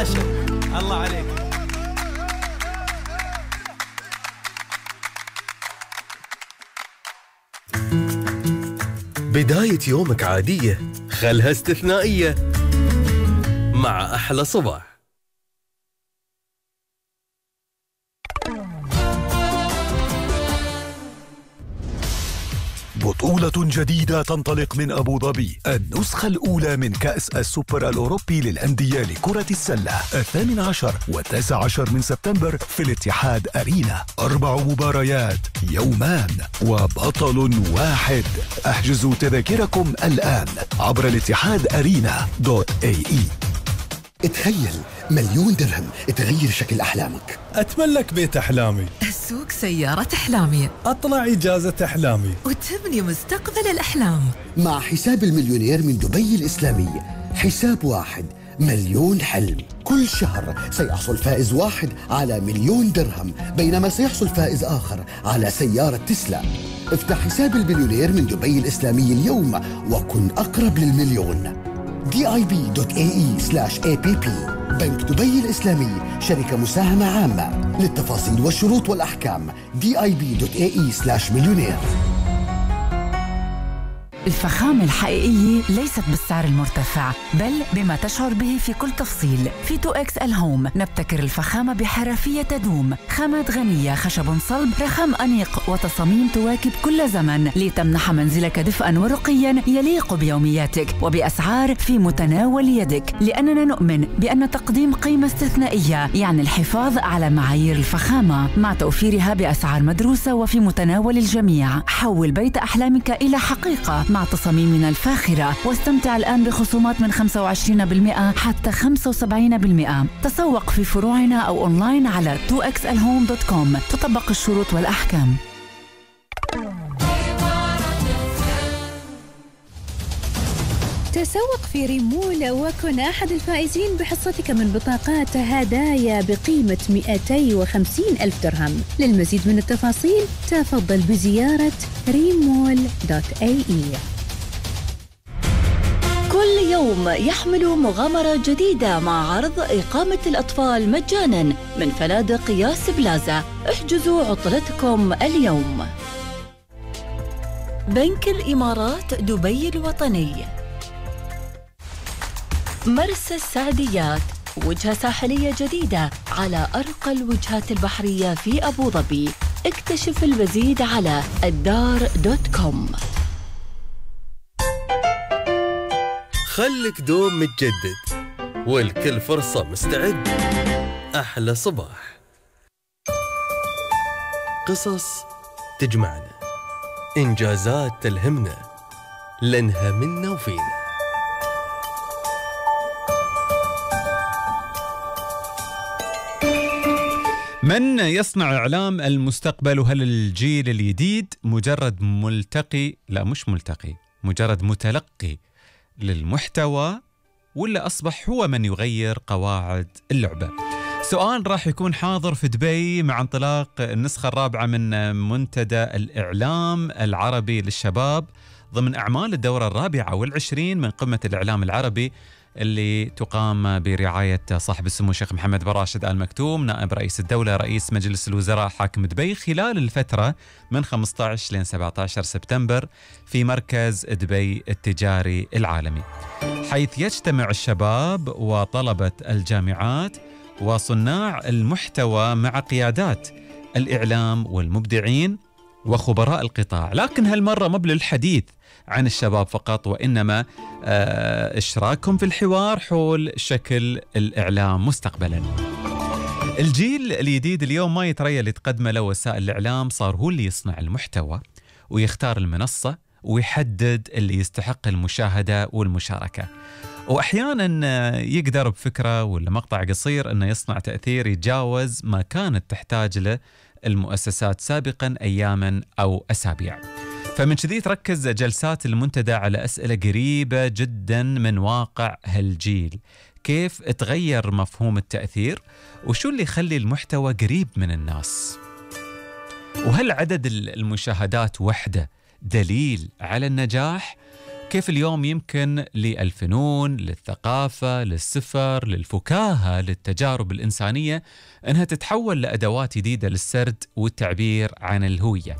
عاشر. الله عليك. بداية يومك عادية خلها استثنائية مع أحلى صباح. بطولة جديدة تنطلق من أبو ظبي، النسخة الأولى من كأس السوبر الأوروبي للأندية لكرة السلة، 18 و19 من سبتمبر في الاتحاد أرينا. 4 مباريات، يومان وبطل واحد. احجزوا تذاكركم الآن عبر الاتحاد أرينا.ae. تخيل 1,000,000 درهم تغير شكل أحلامك. أتملك بيت أحلامي، أسوق سيارة أحلامي، أطلع إجازة أحلامي، وتبني مستقبل الأحلام. مع حساب المليونير من دبي الإسلامي، حساب واحد 1,000,000 حلم. كل شهر سيحصل فائز واحد على 1,000,000 درهم، بينما سيحصل فائز آخر على سيارة تسلا. افتح حساب المليونير من دبي الإسلامي اليوم وكن أقرب للمليون. dib.ae/app. بنك دبي الإسلامي، شركة مساهمة عامة. للتفاصيل والشروط والأحكام dib.ae/مليونير. الفخامة الحقيقية ليست بالسعر المرتفع، بل بما تشعر به في كل تفصيل. في 2X الهوم نبتكر الفخامة بحرفية تدوم، خامات غنية، خشب صلب، رخام أنيق، وتصاميم تواكب كل زمن لتمنح منزلك دفئاً ورقياً يليق بيومياتك وبأسعار في متناول يدك. لأننا نؤمن بأن تقديم قيمة استثنائية يعني الحفاظ على معايير الفخامة مع توفيرها بأسعار مدروسة وفي متناول الجميع. حول بيت أحلامك إلى حقيقة مع تصاميمنا الفاخرة، واستمتع الآن بخصومات من 25% حتى 75%. تسوق في فروعنا أو أونلاين على 2xalhome.com. تطبق الشروط والأحكام. تسوق في ريمول وكن أحد الفائزين بحصتك من بطاقات هدايا بقيمة 250,000 درهم. للمزيد من التفاصيل تفضل بزيارة remol.ae. كل يوم يحمل مغامرة جديدة مع عرض إقامة الأطفال مجاناً من فنادق ياس بلازا. احجزوا عطلتكم اليوم. بنك الإمارات دبي الوطني. مرسى السعديات، وجهة ساحلية جديدة على أرقى الوجهات البحرية في أبو ظبي. اكتشف المزيد على الدار.com. خلك دوم متجدد والكل فرصة مستعد. أحلى صباح. قصص تجمعنا، إنجازات تلهمنا، لنها منا وفينا. من يصنع إعلام المستقبل؟ وهل الجيل الجديد مجرد ملتقي، لا مش ملتقي، مجرد متلقي للمحتوى، ولا أصبح هو من يغير قواعد اللعبة؟ سؤال راح يكون حاضر في دبي مع انطلاق النسخة الرابعة من منتدى الإعلام العربي للشباب ضمن أعمال الدورة 24 من قمة الإعلام العربي اللي تقام برعاية صاحب السمو الشيخ محمد بن راشد آل مكتوم نائب رئيس الدولة رئيس مجلس الوزراء حاكم دبي خلال الفترة من 15 لين 17 سبتمبر في مركز دبي التجاري العالمي، حيث يجتمع الشباب وطلبة الجامعات وصناع المحتوى مع قيادات الإعلام والمبدعين وخبراء القطاع. لكن هالمرة مو للحديث عن الشباب فقط، وإنما إشراكهم في الحوار حول شكل الإعلام مستقبلا. الجيل الجديد اليوم ما يتريى اللي تقدمه له وسائل الإعلام، صار هو اللي يصنع المحتوى ويختار المنصة ويحدد اللي يستحق المشاهدة والمشاركة، وأحيانا يقدر بفكرة ولا مقطع قصير أنه يصنع تأثير يتجاوز ما كانت تحتاج له المؤسسات سابقا أياما أو أسابيع. فمن كذي تركز جلسات المنتدى على أسئلة قريبة جدا من واقع هالجيل، كيف تغير مفهوم التأثير، وشو اللي يخلي المحتوى قريب من الناس، وهل عدد المشاهدات وحده دليل على النجاح، كيف اليوم يمكن للفنون، للثقافة، للسفر، للفكاهة، للتجارب الإنسانية أنها تتحول لأدوات جديدة للسرد والتعبير عن الهوية.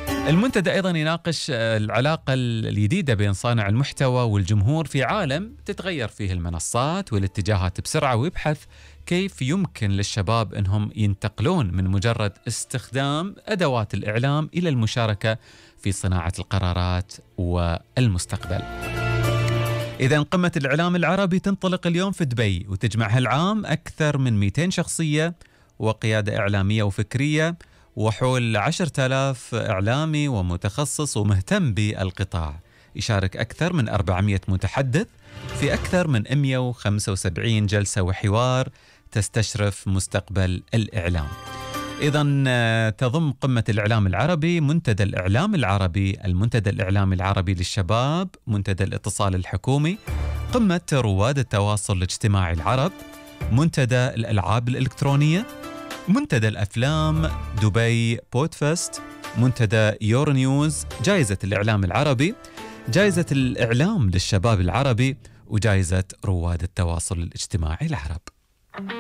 المنتدى أيضا يناقش العلاقة الجديدة بين صانع المحتوى والجمهور في عالم تتغير فيه المنصات والاتجاهات بسرعة، ويبحث كيف يمكن للشباب أنهم ينتقلون من مجرد استخدام أدوات الإعلام إلى المشاركة في صناعة القرارات والمستقبل. إذن قمة الإعلام العربي تنطلق اليوم في دبي، وتجمع هالعام أكثر من 200 شخصية وقيادة إعلامية وفكرية، وحول 10,000 إعلامي ومتخصص ومهتم بالقطاع. يشارك أكثر من 400 متحدث في أكثر من 175 جلسة وحوار تستشرف مستقبل الإعلام. إذن تضم قمة الإعلام العربي منتدى الإعلام العربي، المنتدى الإعلامي العربي للشباب، منتدى الاتصال الحكومي، قمة رواد التواصل الاجتماعي العرب، منتدى الألعاب الإلكترونية، منتدى الأفلام دبي بودفست، منتدى يورو نيوز، جائزة الإعلام العربي، جائزة الإعلام للشباب العربي، وجائزة رواد التواصل الاجتماعي العرب.